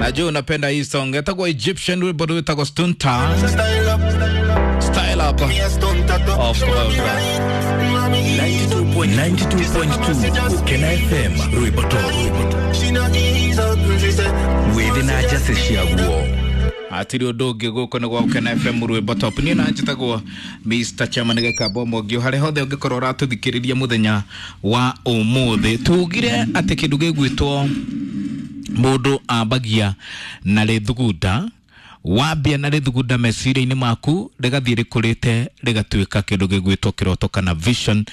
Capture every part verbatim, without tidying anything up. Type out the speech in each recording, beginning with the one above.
Najua unapenda hii song. Itakuwa Egyptian wimbo witagwo Stunta. Style up. Of course. ninety-two point two Ukena F M, rwimbo top wĩthĩ na njacĩ ciaguo. Atiri undu ungi, guku ni gwa Ukena F M, rwimbo top. Niĩ na njĩtagwo Mister Chairman Gĩkamba Mwangi. Harĩa hothe ũngĩkorwo ũratũthikĩrĩria mũthenya wa ũmũthĩ, tugire atĩ kĩndũ gĩgwĩtwo mũndũ ambagia na rĩthugunda. Wambia na rĩthugunda meciria-inĩ maku, rĩgathiĩ rĩkũrĩte, rĩgatuĩka kĩndũ gĩgwĩtwo kĩroto kana vision,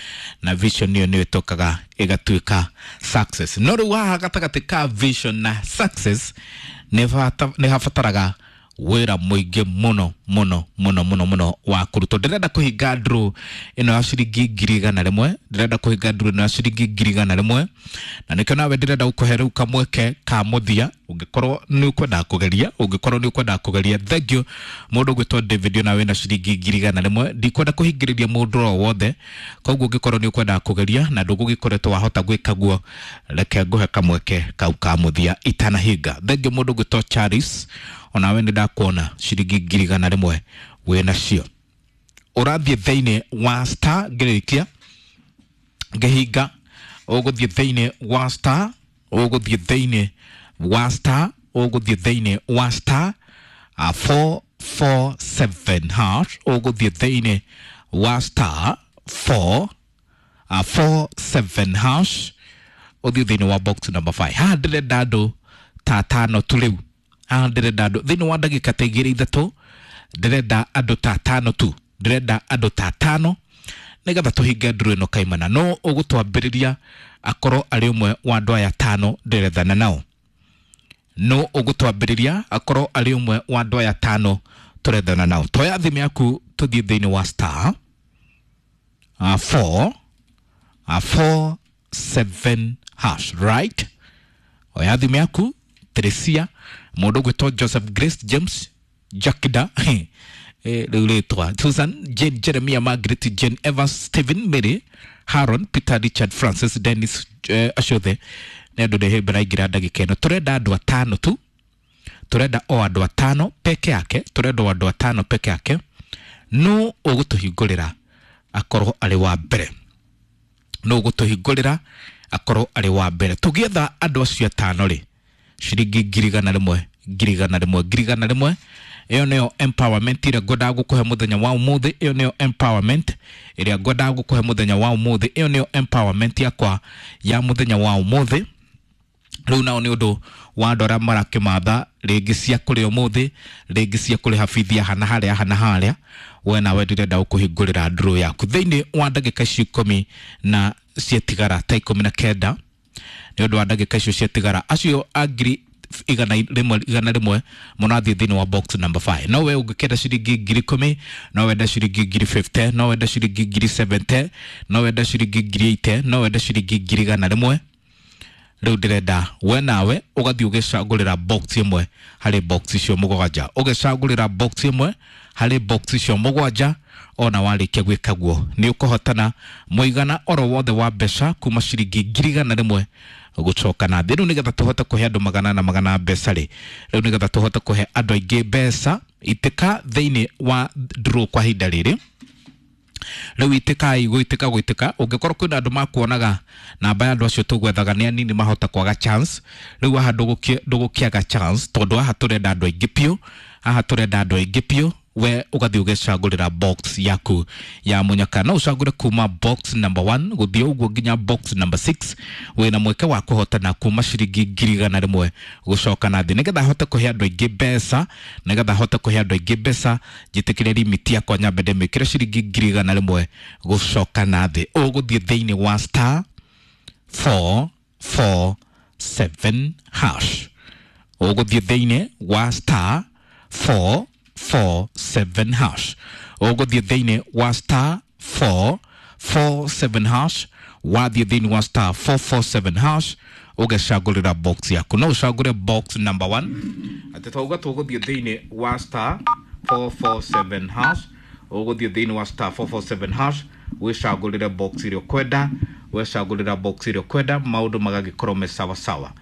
na vision ĩyo nĩyo ĩtokaga ĩgatuĩka success. No rĩu haha gatagatĩ ka vision na success nĩ bata- nĩ habataraga wĩra mũingĩ mũno mũno mũno mũno mũno wa kũrutwo. Ndĩrenda kũhinga draw ĩno ya ciringi ngiri igana rĩmwe. Ndĩrenda kũhinga draw ĩno ya ciringi ngiri igana rĩmwe, na nĩkĩo nawe ndĩrenda gũkũhe rĩu kamweke ka mũthia, ũngĩkorwo nĩ ũkwenda kũgeria, ũngĩkorwo nĩ ũkwenda kũgeria. Thank you, mũndũ ũgwĩtwo David, ona wĩna ciringi ngiri igana rĩmwe. Ndikwenda kũhingĩrĩria mũndũ o wothe, koguo ũngĩkorwo nĩ ũkwenda kũgeria na ndũgũgĩkoretwo wahota gwĩka guo, reke ngũhe kamweke kau ka mũthia itanahinga. Thank you, mũndũ ũgwĩtwo Charles, onawe nĩ ndakuona, ciringi ngiri igana rĩmwe wĩ nacio. Ũrathiĩ thĩinĩ wa star, ngĩrĩkia ngĩhinga, ũgũthiĩ thĩinĩ wa star, ũgũthiĩ thĩinĩ wa star, ũgũthiĩ thĩinĩ wa star uh, four four seven hash. Ũgũthiĩ thĩinĩ wa star four uh, four seven hash, ũthiĩ thĩinĩ wa box number five. Haha ndĩrenda andũ ta atano tu rĩu. Haha ndĩrenda andũ thĩinĩ wa ndagĩka ta igĩrĩ ithatũ, ndĩrenda andũ ta atano tu, ndĩrenda andũ ta atano nĩgetha tũhinge nduru ĩno kaimana. No ũgũtwambĩrĩria akorwo arĩ ũmwe wa andũ aya tano ndĩrethana nao. No ũgũtwambĩrĩria akorwo arĩ ũmwe wa andũ aya tano tũrethana nao. Toya thimũ yaku, tũthiĩ thĩinĩ wa star uh, four uh, four seven hash, right? Oya thimũ yaku. Teresia, mũndũ ũgwĩtwo Joseph, Grace, James, Jakida, rĩu rĩtwa Susan, Jane, Jeremia, Margaret, Jane, Evans, Stephen, Mary, Haron, Peter, Richard, Francis, Dennis, eh, acio othe nĩ andũ ndĩhĩmbĩra raingĩra ndagĩka ĩno. Tũrenda andũ atano tu, tũrenda o andũ atano peke yake, tũrenda o andũ atano peke yake. No ũgũtũhingũrĩra akorwo arĩ wa mbere, no ũgũtũhingũrĩra akorwo arĩ wa mbere. Tũgĩetha andũ acio atano rĩ, ciringi ngiri igana rĩmwe, ngiri igana rĩmwe, ngiri igana rĩmwe. Ĩyo nĩyo empowerment ĩrĩa ngwendaga gũkũhe mũthenya wa ũmũthĩ. Ĩyo nĩyo empowerment ĩrĩa ngwendaga gũkũhe mũthenya wa ũmũthĩ. Ĩyo nĩyo empowerment yakwa ya mũthenya wa ũmũthĩ. Rĩu nao nĩ ũndũ wa andũ arĩa marakĩmatha rĩngĩ cia kũrĩa ũmũthĩ, rĩngĩ cia kũrĩha bithi ya hana harĩa hana harĩa, we nawe ndĩrenda gũkũhingũrĩra draw yaku thĩinĩ wa ndagĩka icio ikũmi na ciatigara, ta ikũmi na kenda. Nĩ ũndũ wa ndagĩka icio ciatigara, acio a ngiri igana rĩmwe igana rĩmwe mũrathiĩ thĩinĩ wa box number five. No we ũngĩkenda ciringi ngiri ikũmi, no wenda ciringi ngiri mĩrongo ĩnana, no wenda ciringi ngiri mĩrongo mũgwanja, no wenda ciringi ngiri mĩrongo ĩnane, no wenda ciringi ngiri igana rĩmwe. Rĩu ndĩrenda we nawe ũgathiĩ ũgĩcagũrĩra box ĩmwe harĩ box icio mũgwanja, ũgĩcagũrĩra box ĩmwe harĩ box icio mũgwanja. Ona warĩkia gwĩka guo, nĩ ũkũhotana mũigana oro wothe wa mbeca kuma ciringi ngiri igana rĩmwe gũcoka na thĩ. Rĩu nĩgetha tũhote kũhe andũ magana na magana mbeca rĩ, rĩu nĩgetha tũhote kũhe andũ aingĩ mbeca, itĩka thĩinĩ wa draw kwa ihinda rĩrĩ rĩu. Itĩkai gũitĩka gũitĩka. Ũngĩkorwo kwĩna andũ makuonaga namba ya andũ acio tũgwethaga nĩ anini, mahota kwaga chance. Rĩu haha ndũgũkĩ- ndũgũkĩaga chance, tondũ haha tũrenda andũ aingĩ biũ, haha tũrenda andũ aingĩ biũ. We ũgathiĩ ũgĩcagũrĩra box yaku ya mũnyaka. No ũcagũre kuma box number one gũthiĩ ũguo nginya box number six. Wĩna mweke wa kũhotana kuma ciringi ngiri igana rĩmwe gũcoka na thĩ. Nĩgetha hote kũhe andũ aingĩ mbeca, nĩgetha hote kũhe andũ aingĩ mbeca, njĩtĩkĩre limit yakwa nyambe ndĩmĩkĩre ciringi ngiri igana rĩmwe gũcoka na thĩ. Ũgũthiĩ thĩinĩ wa star four four seven hash. Ũgũthiĩ thĩinĩ wa star four four seven hash. Ũgũthiĩ thĩinĩ wa star four four seven hash. Wathiĩ thĩinĩ wa star four four seven hash, ũgecagũrĩra box yaku. No ũcagũre box number one. Atĩ twauga tũgũthiĩ thĩinĩ wa star four four seven hash, ũgũthiĩ thĩinĩ wa star four four seven hash, wĩcagũrĩre box ĩrĩa ũkwenda, wecagũrĩra box ĩrĩa ũkwenda, maũndũ magagĩkorwo me sawa sawa.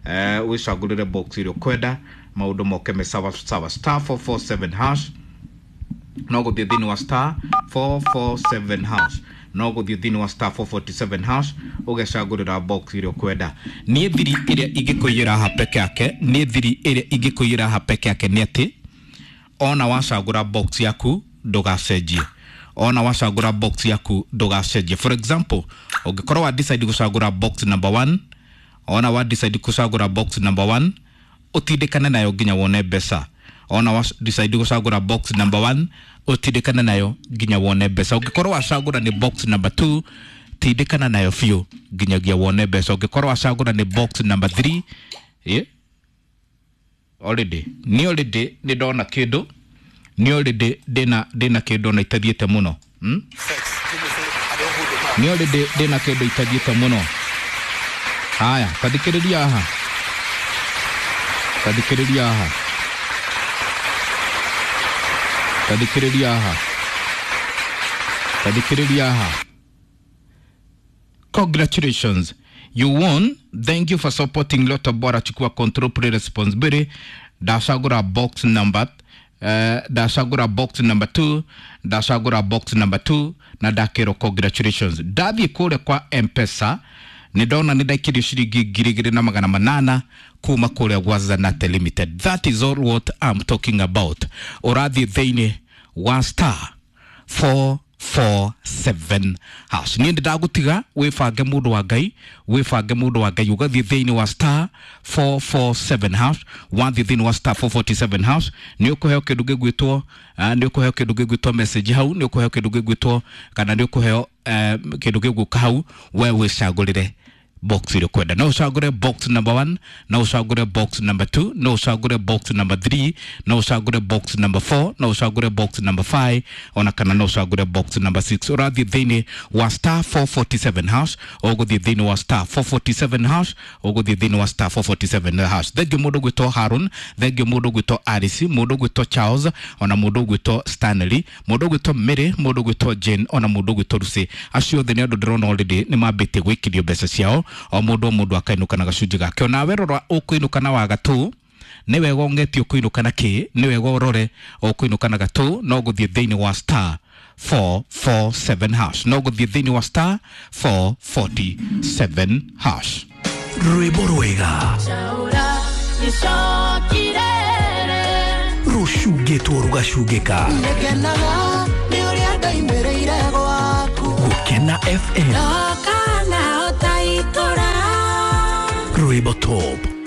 eh wicagurire box ĩrĩa ũkwenda maũndũ moke me sawa sawa. Star four four seven hash, no gũthiĩ thĩinĩ wa star four four seven hash, no gũthiĩ thĩinĩ wa star four forty-seven hash ũgecagũrĩra box ĩrĩa ũkwenda. Niĩ thiri ĩrĩa ingĩkũiyĩra haha peke yake, niĩ thiri ĩrĩa ingĩkũiyĩra haha peke yake nĩ atĩ ona wacagũra box yaku ndũgacenjie, ona wacagũra box yaku ndũgacenjie. For example, ũngĩkorwo wa decide gũcagũra box number one, ona wa decide gũcagũra box number one ũtindĩkane nayo nginya wone mbeca. Ona wa decide gũcagũra box number one ũtindĩkane nayo nginya wone mbeca. Ũngĩkorwo wacagũra nĩ box number two tindĩkana nayo biũ nginyagia wone mbeca. Ũngĩkorwo wacagũra nĩ box number three, yeah, already ni already nĩ ndona kĩndũ, nĩ already ndĩna ndĩna kĩndũ na itathiĩte mũno, hmm? Nĩ already ndĩna kĩndũ itathiĩte mũno. Haya, tathikĩrĩria haha, tathikĩrĩria haha, tathikĩrĩria haha, tathikĩrĩria haha. Congratulations, you won. Thank you for supporting Lotto Bora. Chukua control, play responsibility. Ndacagũra box number uh, ndacagũra box number two, ndacagũra box number two na ndakĩrwo congratulations. Ndathiĩ kũrĩa kwa M-Pesa nĩ ndona nĩ ndaikirio ciringi ngiri igĩrĩ na magana manana kuma kũrĩa gwa Zanate Limited. That is all what I'm talking about. Ũrathiĩ thĩinĩ wa star four four seven hash. Niĩ ndagũtiga wĩbange mũndũ wa Ngai, wĩbange mũndũ wa Ngai, ũgathiĩ thĩinĩ wa star four four seven hash, wathiĩ thĩinĩ wa star four forty-seven hash nĩ ũkũheo kĩndũ gĩgwĩtwo, nĩ ũkũheo kĩndũ gĩgwĩtwo message hau, nĩ ũkũheo kĩndũ gĩgwĩtwo kana nĩ ũkũheo kĩndũ gĩgũka hau, we wĩcagũrĩre box ĩrĩa ũkwenda. No ũcagũre box number one, no ũcagũre box number two, no ũcagũre box number three, no ũcagũre box number four, no ũcagũre box number five, ona kana no ũcagũre box number six. Ũrathiĩ thĩinĩ wa star four forty-seven hash, ũgũthiĩ thĩinĩ wa star four forty-seven hash, ũgũthiĩ thĩinĩ wa star four forty-seven hash. Thengiũ mũndũ ũgwĩtwo Harun, thengiũ mũndũ ũgwĩtwo Alice, mũndũ ũgwĩtwo Charles, ona mũndũ ũgwĩtwo Stanley, mũndũ ũgwĩtwo Mary, mũndũ ũgwĩtwo Jane, ona mũndũ ũgwĩtwo Lucy. Acio othe nĩ andũ ndĩrona already nĩ mambĩtie gwĩkĩrio mbeca ciao. O mũndũ o mũndũ akainũka na gacunjĩ gake. Onawe rora ũkũinũka na wa gatũ, nĩ wega ũng'etie ũkũinũka na kĩ, nĩ wega ũrore ũkũinũka na gatũ, no gũthiĩ thĩinĩ wa star four four seven hash, no gũthiĩ thĩinĩ wa star four forty-seven hash. Rwĩmbo rwega rũcungĩtwo rũgacungĩka. Gũkena F M Rwĩmbo Top.